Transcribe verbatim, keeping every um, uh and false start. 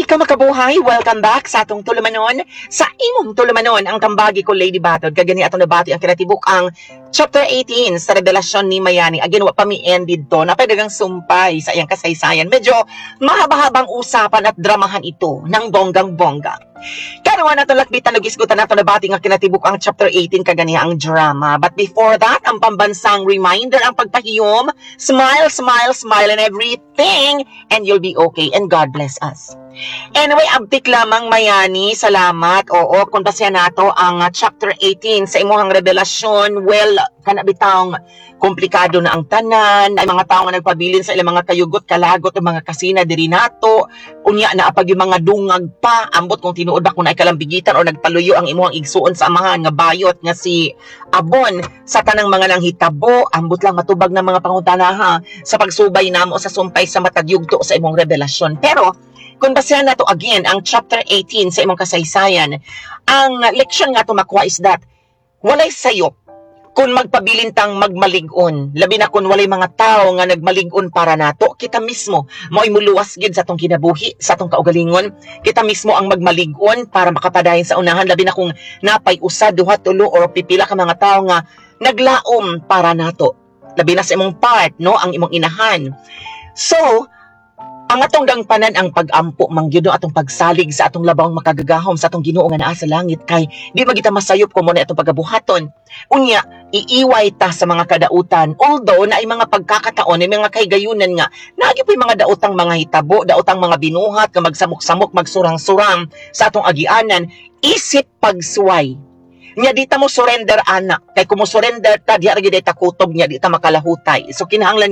Welcome, makabuhay! Welcome back sa atong tulumanon. Sa imong tulumanon, ang kambagi ko, Lady Batod. Kagani atong nabati ang kinatibuk ang chapter eighteen sa revelasyon ni Mayani. Again, wa pa mi end dito. Napadagang sumpay sa iyang kasaysayan. Medyo mahaba-habang usapan at dramahan ito ng bonggang-bongga. Karon nato lakbitan ug isgutan nato nabati nga kinatibuk ang chapter eighteen kaganiha ang drama. But before that, ang pambansang reminder, ang pagpahiyom, smile, smile, smile and everything, and you'll be okay and God bless us. Anyway, abtik lamang, Mayani, salamat. Oo, kung basya nato ang uh, chapter eighteen sa imuhang revelasyon, well, kana bitawng komplikado na ang tanan, ay mga tao nga nagpabilin sa ilang mga kayugot, kalagot, o mga kasina diri nato. Unya na apag yung mga dungag pa, ambot kung tinuod ba kung naikalambigitan o nagpaluyo ang imuhang igsuon sa amahan nga bayot nga si Abon sa tanang mga nanghitabo, ambot lang matubag ng mga pangutana ha sa pagsubay namo sa sumpay sa matag yugto sa imong revelasyon. Pero kung basehan nato again ang chapter eighteen sa imong kasaysayan, ang leksyon nga ato makuha is that walay sayop kung magpabilin tang magmalig-on, labi na kung walay mga tao nga nagmalig-on para nato. Kita mismo mao'y muluwas gid sa atong kinabuhi, sa atong kaugalingon. Kita mismo ang magmalig-on para makapadayon sa unahan, labi na kung napay usa, duha, tulo or pipila ka mga tao nga naglaom para nato. Labi na sa imong part, no, ang imong inahan. So, ang atong dangpanan ang pag-ampo man gyud, no, atong pagsalig sa atong labawng makagagahom, sa atong Ginoo nga naa sa langit, kay di magita masayop kung mo na atong pagabuhaton. Unya, iiway ta sa mga kadautan, although na ay mga pagkakataon, ay mga kahigayunan nga naagi po'y mga daotang mga hitabo, daotang mga binuhat nga magsamok-samok, magsurang-surang sa atong agianan isip pagsuway. Nya di ta mo surrender ana, kay kung mo surrender ta, diha ra gyud ay takutob, nya di ta makalahutay. So kinahanglan